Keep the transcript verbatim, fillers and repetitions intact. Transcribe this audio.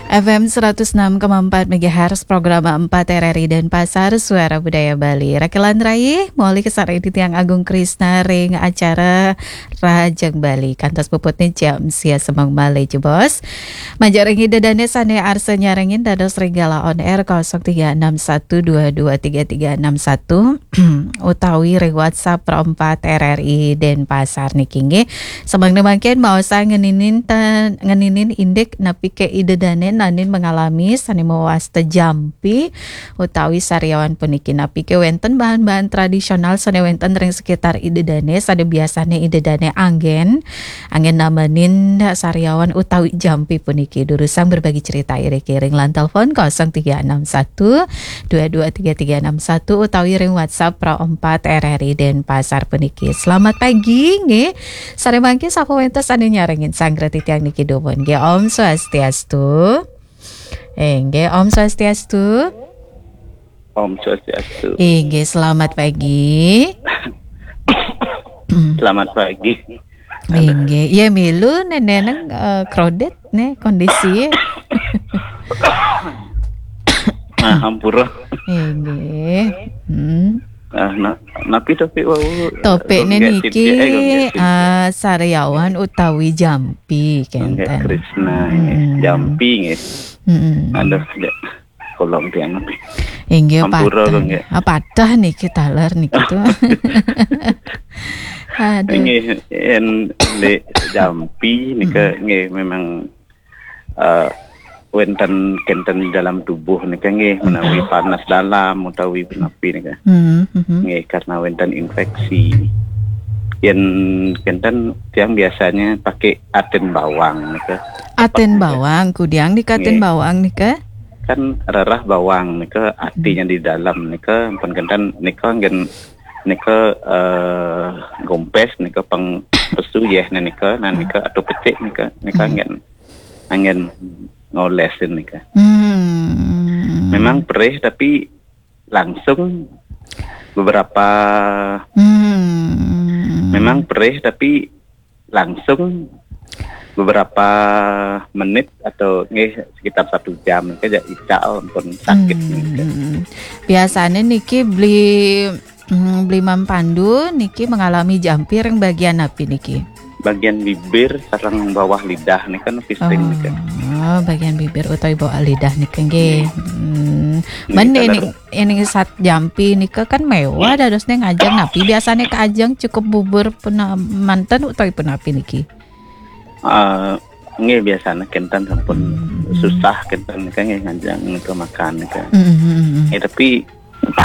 F M seratus enam koma empat megahertz, program empat R R I Denpasar, Suara Budaya Bali. Rakelan rai, moli kasareng titiang Agung Krisna ring acara Rahajeng Bali. Kantos puputne jam sia semeng malih jebos. Majeng ring Ida dane sane arsa nyarengin dados ring Gala On Air kosong tiga enam satu dua dua tiga tiga enam satu utawi ring WhatsApp Pro empat R R I Denpasar niki nggih. Semeng mangkin maosang ngeninin ta-, ngeninin indik napi ke Ida dane nanin mengalami sane mawasta jampi utawi sariawan puniki, napi ke wenten bahan-bahan tradisional sane wenten ring sekitar Ida dane sane biasane Ida dane anggen, anggen namenin sariawan utawi jampi puniki. Durusang berbagi cerita iriki ring line telepon kosong tiga enam satu dua dua tiga tiga enam satu utawi ring WhatsApp Pro empat R R I Denpasar puniki. Selamat pagi nggih. Sare mangke sapa wenten sane nyarengin sanggra titiang niki dumun nggih. Om Swastiastu. Inggih, Om Swastiastu. Om Swastiastu. Inggih, selamat pagi. Selamat pagi. Inggih, ya milu neneneng eh, crowded ne kondisi. Nah, hampura. Inggih. Hmm. Nah, nah, napi topik wau? Topik ne Gonggek niki tibik, eh, gonggek tibik. Ah, sariawan utawi jampi Gonggek kenten. Krisna nggih. Hmm. Jampi nggih. Hmm. Aduh, dek. Kolong tiang napi. Inggih Hampura patah. Gonggek. Ah, patah niki taler niki tuh. Aduh. Nggih, yen dek jampi nika nggih memang eh, wenten kenten dalam tubuh nika nggih menawi panas dalam utawi punapi nika. Hmm, hmm. Nggih karena wenten infeksi. Yen kenten tiang biasanya pakai atin bawang nika. Atin bawang, kudiang nika atin Nggih. Bawang nika. Kan rerah bawang nika atinya di dalam nika pun kenten nika ngen nika eh, gompes nika pang pesu yeh nika nah nika atau pecik nika nika ngen angin ngolesin nika. Hmm. Memang perih tapi langsung beberapa Hmm. memang perih tapi langsung beberapa menit atau nggih sekitar satu jam nika aja ical pun sakit nika. Hmm. Biasanya niki beli hmm, beli Mam Pandu niki mengalami jampi ring bagian napi niki? Bagian bibir sareng bawah lidah nika napi sering nika. Oh, bagian bibir utawi bawah lidah nika nggih. Hmm. Nggih, Mene kalau ini ini sat jampi nika kan mewah dadosne ngajeng napi biasanya ke ajeng cukup bubur puna manten utawi punapi niki? Eh, nggih biasanya kenten sampun susah kenten nika nggih ngajeng nika makan nika. Hmm. Ya tapi